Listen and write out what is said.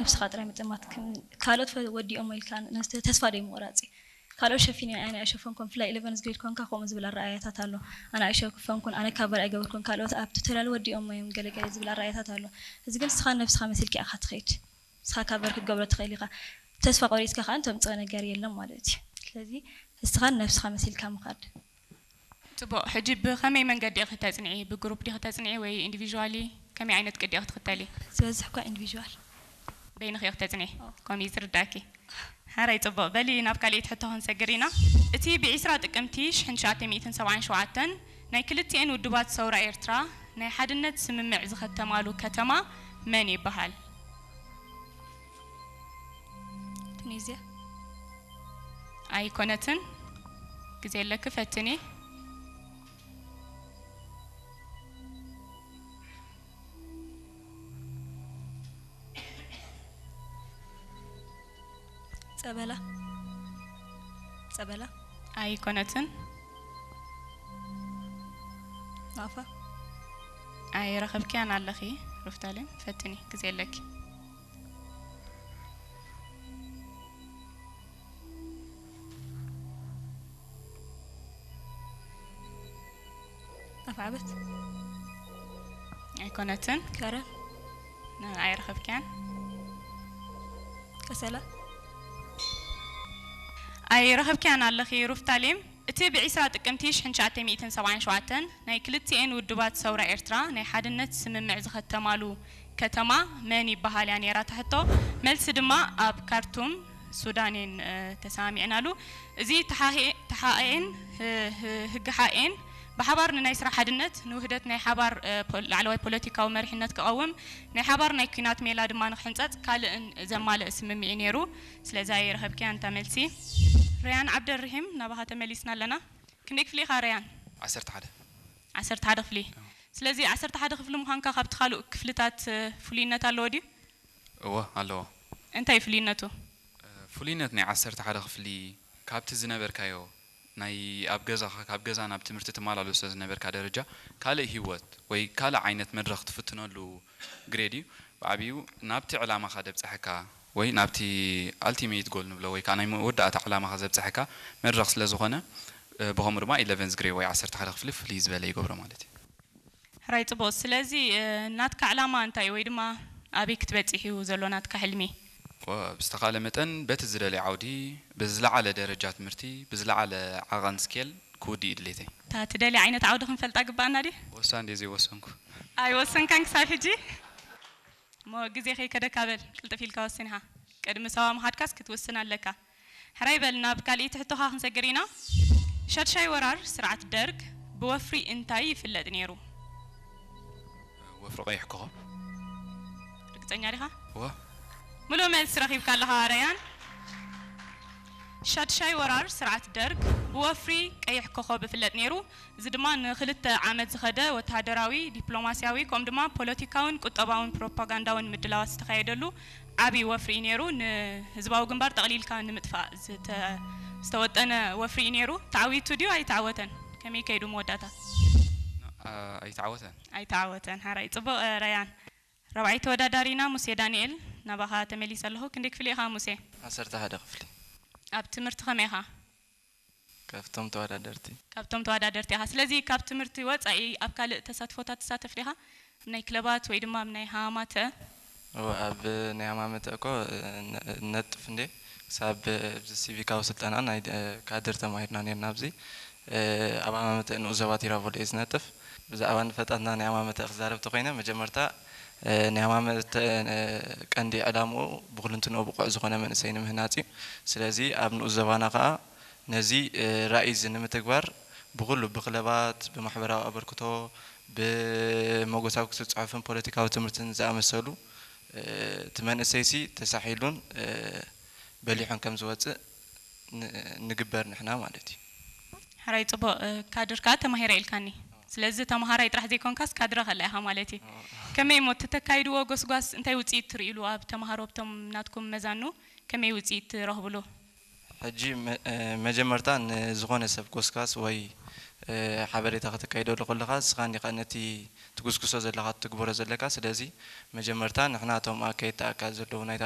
ነብስኻ ጥራይ ምጥማት፣ ከም ካልኦት ፈ-፣ ወዲኦሞ ኢልካ ነስ-፣ ተስፋ ደይ ምቑራጽ እዩ። ካልኦት ሸፊነ ኣነ ኣይሸፈንኩን፣ ብፍላይ ኢለቨንዝ ግሬድ ኮንካ ከምኡ ዝብል ኣረኣእያታት ኣሎ። ኣነ ኣይሸፈንኩን፣ ኣነ ካቨር ኣይገበርኩን፣ ካልኦት ኣብ ቱቶሪያል ወዲኦሞ እዮም ገለ ገለ ዝብል ኣረኣእያታት ኣሎ። እዚ ግን ንስኻ ነብስኻ መሲልካ ኢኻ ትኸይድ። ንስኻ ካቨር ክትገብሮ ትኽእል ኢኻ። ተስፋ ቆሪጽካ ከኣ ተምጽኦ ነገር የለን ማለት እዩ። ስለዚ ንስኻ ነብስኻ መሲልካ ምኻድ። ጽቡቕ። ሕጂ ብኸመይ መንገዲ ኢኺ ተጽንዒ? ብግሩፕ ዲኺ ተጽንዒ ወይ ኢንዲቪዥዋሊ? ከመይ ዓይነት ቅዲ ኢኺ ትኽተሊ? ዝበዝሕ እኳ ኢንዲቪዥዋል። በይንኺ ኢኺ ተጽንዒ? ኣዎ። ከምኡ እዩ ዝርዳእኪ። ሓራይ ጽቡቕ። በሊ ናብ ካልኣይቲ ሕቶ ክንሰግር ኢና። እቲ ብዒስራ ጥቅምቲ ሽሕን ትሽዓተ ሚእትን ሰብዓን ሸውዓተን ናይ ክልቲኤን ውድባት ሰውራ ኤርትራ ናይ ሓድነት ስምምዕ ዝኸተማሉ ከተማ መን ይበሃል? ቱኒዝያ። ኣይኮነትን። ግዜ ኣለኪ፣ ፈትኒ። ጸበላ። ጸበላ። ኣይኮነትን። ናፋ። ኣይረኸብክያን ኣለኺ ሩፍታሌም፣ ፈትኒ፣ ግዜ ኣለኪ። ኣፍዓበት። ኣይኮነትን። ከረን። ን-፣ ኣይረኸብክያን። ቀሰላ። ኣይረኸብክያን ኣለኺ ሩፍታሌም። እቲ ብዒስራ ጥቅምቲ ሽሕን ትሽዓተ ሚእትን ሰብዓን ሸውዓተን ናይ ክልቲኤን ውድባት ሰውራ ኤርትራ ናይ ሓድነት ስምምዕ ዝኸተማሉ ከተማ መን ይበሃል እያ ነይራ እታ ሕቶ። መልሲ ድማ ኣብ ካርቱም ሱዳን እየን፣ እ፣ ተሰማሚዕናሉ። እዚ ተሓኤ-፣ ተሓኤን ህ-፣ ህ-፣ ህግሓኤን ብሓባር ንናይ ስራሕ ሓድነት፣ ንውህደት ናይ ሓባር፣ እ፣ ፖ-፣ ላዕለዋይ ፖለቲካዊ መሪሕነት ክቐውም፣ ናይ ሓባር ናይ ኲናት ሜላ ድማ ንክሕንጸጽ ካልእን ዘማልእ ስምምዕ እዩ ነይሩ። ስለዚ ኣይረኸብክያን እታ መልሲ። ረያን ዓብደርሒም፣ ናባኻ ተመሊስና ኣለና። ክንደይ ክፍሊ ኢኻ ረያን? ዓሰርተ ሓደ። ዓሰርተ ሓደ ክፍሊ። ኣዎ። ስለዚ ዓሰርተ ሓደ ክፍሊ ምዃንካ ካብቲ ካልእ ክፍልታት፣ እ፣ ፍሉይነት ኣለዎ ድዩ? እወ፣ ኣለዎ። እንታይ እዩ ፍሉይነቱ? እ፣ ፍሉይነት ናይ ዓሰርተ ሓደ ክፍሊ ካብቲ ዝነበርካዮ ናይ ኣብ ገዛኻ፣ ካብ ገዛ ናብ ትምህርቲ ትመላለሶ ዝነበርካ ደረጃ ካልእ ህይወት ወይ ካልእ ዓይነት መድረኽ ትፍትነሉ ግሬድ እዩ። ብዓብዩ ናብቲ ዕላማኻ ደብጽሐካ ወይ ናብቲ ኣልቲሜት ጎል ንብሎ ወይ ከዓ ናይ መወዳእታ ዕላማኻ ዘብጽሐካ መድረኽ ስለ ዝኾነ፣ እ፣ ብኸምኡ ድማ ኢለቨንዝ ግሬድ ወይ ዓሰርተ ሓደ ክፍሊ ፍልይ ዝበለ ይገብሮ ማለት እዩ። ሕራይ ጽቡቕ። ስለዚ፣ እ፣ ናትካ ዕላማ እንታይ እዩ? ወይ ድማ ኣበይ ክትበጽሕ እዩ ዘሎ ናትካ ሕልሚ? ወ-፣ ብዝተኻለ መጠን በቲ ዝደልዮ ዓውዲ ብዝለዓለ ደረጃ ትምህርቲ ብዝለዓለ ዓቐን ስኬል ክውዲ እዩ ድሌተይ። እታ ትደልያ ዓይነት ዓውዲ ክንፈልጣ ግባኣና ድዩ? ወሳን ድየ ዘይወሰንኩ? ኣይወሰንካን ክሳብ ሕጂ? እሞ ግዜ ከይከደካ በል፣ ቅልጥፍ ኢልካ ወስን ኢኻ። ቅድሚ ሳዋ ምኻድካስ ክትውስን ኣለካ። ሕራይ በል፣ ናብ ካልኣይቲ ሕቶኻ ክንሰግር ኢና። ሻድሻይ ወራር ስርዓት ደርግ ብወፍሪ እንታይ ይፍለጥ ነይሩ? ወፍሪ ቀይሕ ኮኸብ። ርግጸኛ ዲኻ? እወ። ምሉእ መልሲ ረኺብካ ኣለኻ ረያን። ሻድሻይ ወራር ስርዓት ደርግ ብወፍሪ ቀይሕ ኮኸብ ይፍለጥ ነይሩ። እዚ ድማ ንኽልተ ዓመት ዝኸደ ወተሃደራዊ፣ ዲፕሎማስያዊ፣ ከምኡ ድማ ፖለቲካውን ቁጠባውን ፕሮፓጋንዳውን ምድላዋት ዝተኻየደሉ ዓብዪ ወፍሪ እዩ ነይሩ። ንህዝባዊ ግንባር ጠቕሊልካ ንምጥፋእ ዝተ-፣ ዝተወጠነ ወፍሪ እዩ ነይሩ። ተዓዊቱ ድዩ ኣይተዓወተን? ከመይ ከይዱ መወዳእታ? ኣ-፣ ኣይተዓወተን። ኣይተዓወተን። ሓራይ ጽቡቕ፣ እ፣ ረያን። ራብዓይ ተወዳዳሪና ሙሴ ዳንኤል፣ ናባኻ ተመሊሰ ኣለኹ። ክንደይ ክፍሊ ኢኻ ሙሴ? ዓሰርተ ሓደ ክፍሊ። ኣብ ትምህርቲ ከመይ ኢኻ? ካብቶም ተወዳደርቲ። ካብቶም ተወዳደርቲ ኢኻ። ስለዚ ካብ ትምህርቲ ወጻኢ ኣብ ካልእ ተሳትፎታት ትሳተፍ ዲኻ? ኣብ ናይ ክለባት ወይ ድማ ኣብ ናይ ሃማተ? እወ፣ ኣብ ናይ ሃማመተ እኮ፣ እ፣ ነ-፣ ነጥፍ እንዴ፣ ክሳብ ኣብዚ ሲቪካዊ ስልጠና ናይ፣ እ፣ ካድር ተማሂርና ነርና ኣብዚ። እ፣ ኣብ ሃማመተ ንኡስ ዞባ ቲራቮል እየ ዝነጥፍ። ብዛዕባ ንፈጣትና ናይ ሃማመተ ክዛረብ ተኾይነ፣ መጀመርታ፣ እ፣ ናይ ሃማመተ፣ እ፣ ቀንዲ ዕላምኡ ብኹልንትንኡ ብቑዕ ዝኾነ መንእሰይ ንምህናጽ እዩ። ስለዚ ኣብ ንኡስ ዞባና ከኣ ነዚ፣ እ፣ ራእይ እዚ ንምትግባር ብኹሉ ብክለባት፣ ብማሕበራዊ ኣበርክቶ፣ ብመጎሳዊ ክስብ ጽሑፍን ፖለቲካዊ ትምህርትን ዝኣመሰሉ፣ እ፣ እቲ መንእሰይሲ ተሳሒሉን፣ እ፣ በሊሑን ከም ዝወጽእ ን-፣ ንግበር ንሕና ማለት እዩ። ሕራይ ጽቡቕ፣ እ፣ ካድር ከኣ ተማሂረ ኢልካኒ። ስለዚ ተማሃራይ ጥራሕ ዘይኮንካስ ካድረ ከላ ኢኻ ማለት እዩ። ከመይ እሞ እተካይድዎ ጎስጓስ እንታይ ውጽኢት ትርእይሉ ኣብ ተማሃሮ ኣብቶም ናትኩም መዛኑ? ከመይ ውጽኢት ትረኽብሉ? ሕጂ መ-፣ እ፣ መጀመርታ ንዝኾነ ሰብ ጎስጓስ ወይ ሓበሬታ ከተካይደሉ ከለኻ ንስኻ እንዲኻ ነቲ ትጉስጉሶ ዘለኻ ትግበሮ ዘለካ። ስለዚ መጀመርታ ንሕና እቶም ኣካየድቲ ኣካል ዘለዉ ናይታ